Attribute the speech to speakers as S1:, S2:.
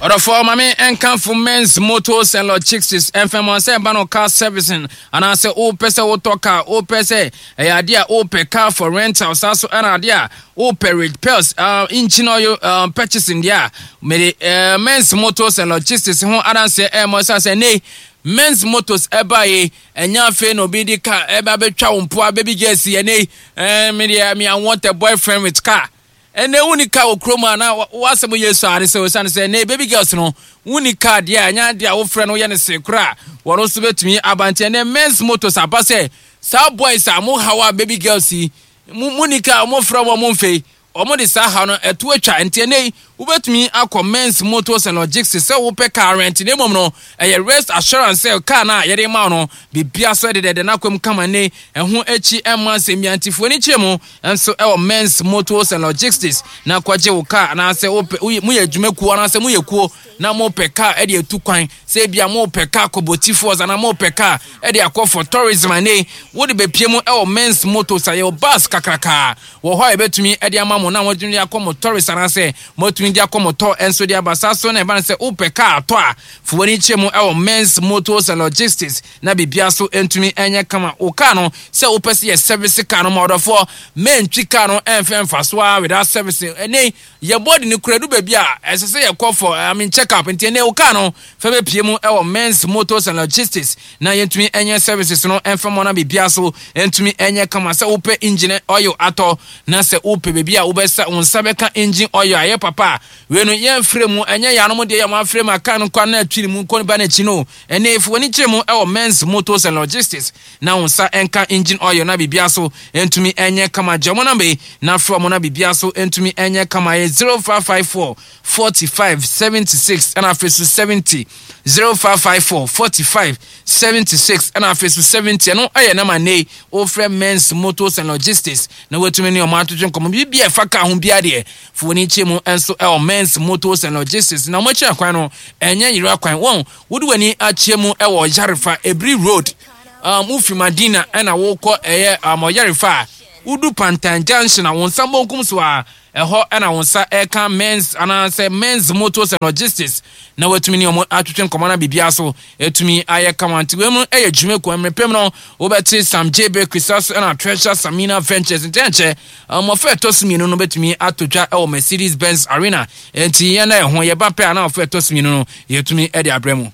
S1: Ɔdɔfoɔ ma me nkamfo Men's Motors and Logistics mfɛmɔ sɛ ɛba no car servicing anaasɛ wopɛ sɛ wotɔ car, wopɛ sɛ ɛyɛ adeɛ a wopɛ car for rental, saa so ɛna adeɛ a wopɛ repairs, engine oil purchasing deɛ a mede Men's Motors and Logistics ho adanseɛ ɛmɔ ɛsiane sɛ nnɛ Men's Motors ɛbaeɛ ɛnyɛ afei na obi de car ɛba bɛtwa wo mpoa baby girl si ɛnɛ yi ɛɛ me deɛ me I want a boyfriend with car. Ɛnɛ wonni car wɔ kurom a na w'asɛm yɛ su ara ne sɛ osiane sɛ ɛnɛ baby girls no wonni car deɛ a ɛnyɛ adeɛ a wofrɛ no woyɛ no see koraa a wɔn nso bɛtumi aba. Nti ɛnɛ men's motors aba sɛ saa boys a mo haw a baby girls yi mo monni car a wɔfrɛ wɔn mo mfei wɔn de saa haw no ɛto atwa. Nti ɛnɛ yi wobɛtumi akɔ men's motors and logistics sɛ wopɛ car rent na mmom no ɛyɛ rest assurance sɛ car no a yɛde ma wo no biribiara so ɛdedɛdɛ n'akwam kama ne ɛho akyi ɛmma nsɛm biara. Nti fo ani kyerɛ mu nso wɔ Men's Motors and Logistics na kɔgye wo kaa anaasɛ wopɛ woyɛ moyɛ adwumakuo anaasɛ moyɛ kuo na mopɛ kaa de atu kwan sɛ ebia mopɛ kaa kɔ Boti Falls anaa mopɛ kaa de akɔ for tourism ane wode bɛpie mu wɔ Men's Motors a yɛwɔ bus kakrakaa wɔ hɔ a yɛbɛtumi de ama mo na moatumi de akɔ mo tourist anaasɛ moatumi de akɔ mo tɔ nso de aba. Saa so na ɛba no sɛ wopɛ kaa atɔ a fo w'ani kyerɛ mu wɔ Men's Motors and Logistics na biribiara so ntumi nyɛ kama. Wo car no, sɛ wopɛ sɛ yɛ service car no ma ɔdɔfoɔ, mɛntwi car no ɛmfɛ mfa so ara without service. Ɛnɛ yi, yɛ body no kura du baabi a ɛsɛ sɛ yɛkɔ for I mean check up. Nti ɛnɛ wo car no fa bɛpie mu ɛwɔ Men's Motors and Logistics na yɛntumi nyɛ services no ɛmfa mu na biribiara so ntumi nyɛ kama. Sɛ wopɛ engine oil atɔ na sɛ wopɛ baabi a wobɛsa wo nsa bɛka engine oil a ɛyɛ papa a, wei no yɛmfrɛ mu, ɛnyɛ yɛanom deɛ yɛ mo afrɛ mu aka no kɔ na atwi ne mu kɔ ba n'akyi no. Ɛnnɛ, fa w'ani kyerɛ mu wɔ Men's Motors and Logistics na wo nsa nka engine oil na biribiara so ntumi nyɛ kama. Gye wɔn namba yi na frɛ wɔn na biribiara so ntumi nyɛ kama. Ɛyɛ 0554 45 76 ɛna afei so 70. 0554 45 76 ɛna afei so 70. Ɛno ɛyɛ namba nnɛ yi wofrɛ Men's Motors and Logistics na watumi ne wɔn atwetwe nkɔmmɔ. Biribi a ɛfa kaa ho biara deɛ, fa w'ani kyerɛ mu nso ɛwɔ Men's Motors and Logistics na wɔn akyiri akwan no ɛnyɛ yera kwan. Wɔn Wode w'ani akyerɛ mu wɔ Ɔyarefa, Ebiri Road, um, wofi Madina ɛna wokɔ ɛyɛ um, Ɔyarefa a, wodu Pantan Junction a, wo nsa bonkum so a, ɛhɔ ɛna wo nsa ɛka Men's anaasɛ Men's Motors and Logistics na watumi ne wɔn atwetwe nkɔmmɔ na biribiara so atumi ayɛ kama. Nti wei mu ɛyɛ dwumakuo mmerɛ no wobɛte Sam J Bakery saa so ɛna Treasure Samina Ventures. Nti ɛnkyɛ mmɔfra ɛtɔ so mmienu no bɛtumi atɔ dwa ɛwɔ Mercedes Benz Arena. Nti yɛn na ɛho yɛba pɛ a na mmɔfra ɛtɔ so mmienu no yɛtumi de abrɛ mu.